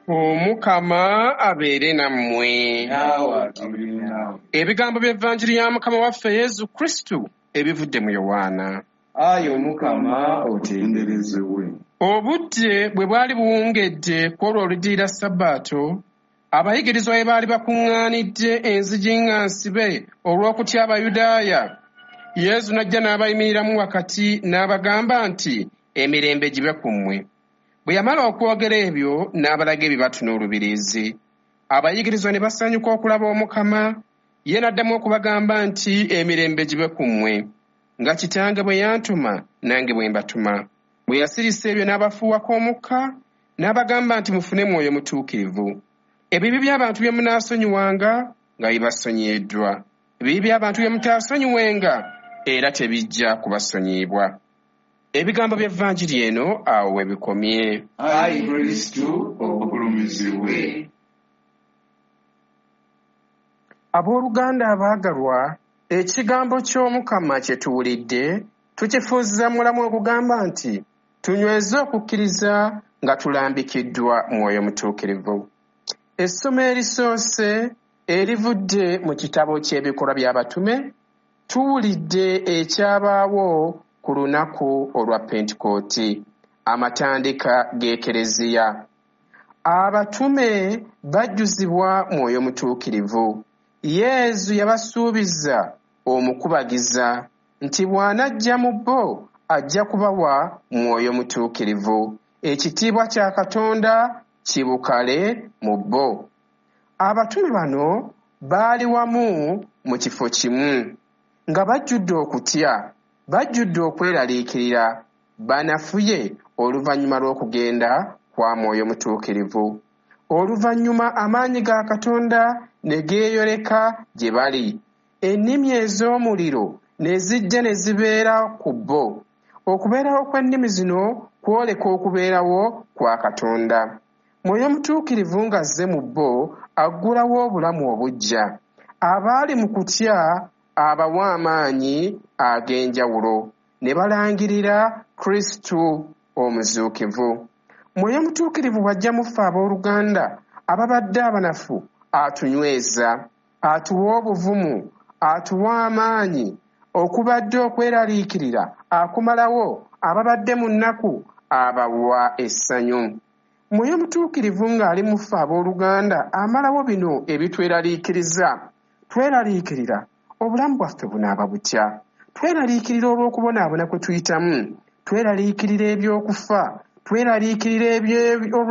Omukama abeere nammwe. Naawe abeere naawe. Ebigambo by'Evanjiri ya Mukama waffe Yesu Kristu ebivudde mu Yowaana. Ayi Omukama otenderezebwe. Obudde bwe bwali buwungedde ku olwo oluddirira Sabbaato, abayigirizwa bwe baali bakuŋŋaanidde enzigi nga nsibe olw'okutya Abayudaaya, Yesu n'ajja n'abayimiriramu wakati n'abagamba nti, Emirembe gibe ku mmwe. Bwe yamala okwogera ebyo n'abalaga ebibatu n'olubiriizi. Abayigirizwa ne basanyuka okulaba Omukama. Ye n'addamu okubagamba nti, Emirembe gibe ku mmwe. Nga Kitange bwe yantuma, nange bwe mbatuma. Bwe yasirisa ebyo n'abafuuwako omukka, n'abagamba nti, Mufune Mwoyo Mutuukirivu. Ebibi by'abantu bye munaasonyiwanga nga bibasonyiyiddwa. Ebibi by'abantu bye mutaasonyiwenga era tebijja kubasonyiyibwa. Ebigambo by'Evanjiri eno awo we bikomye. Ayi Kristu ogulumizibwe. Abooluganda abaagalwa, ekigambo ky'Omukama kye tuwulidde tukifuuza mulamu ogugamba nti tunyweze okukkiriza nga tulambikiddwa Mwoyo Mutuukirivu. Essomo erisoose erivudde mu kitabo ky'Ebikolwa by'Abatume, tuwulidde ekyabaawo ku lunaku olwa Pentekooti, amatandika g'Ekereziya. Abatume bajjuzibwa Mwoyo Mutuukirivu. Yesu yabasuubiza omukubagiza nti bw'anajja mu bo ajja kubawa Mwoyo Mutuukirivu. Ekitiibwa kya Katonda kibukale mu bo. Abatume bano baali wamu mu kifo kimu, nga bajjudde okutya, bajjudde okweraliikirira, banafuye oluvannyuma lw'okugenda kwa Mwoyo Mutuukirivu. Oluvannyuma amaanyi ga Katonda ne geeyoleka gye bali. Ennimi ez'omuliro ne zijja ne zibeera ku bo. Okubeerawo kw'ennimi zino kwoleka okubeerawo kwa Katonda. Mwoyo Mutuukirivu ng'azze mu bo aggulawo obulamu obuggya. Abaali mu kutya abawa amaanyi ag'enjawulo ne balangirira Kristu omuzuukivu. Mwoyo Mutuukirivu bw'ajja mu ffe abooluganda ababadde abanafu, atunyweza, atuwa obuvumu, atuwa amaanyi, okubadde okweraliikirira akumalawo, ababadde mu nnaku abawa essanyu. Mwoyo Mutuukirivu ng'ali mu ffe abooluganda amalawo bino ebitweraliikiriza. Tweraliikirira obulamu bwaffe bunaaba butya? Tweraliikirira olw'okubonaabona kwe tuyitamu. Tweraliikirira eby'okufa. Tweraliikirira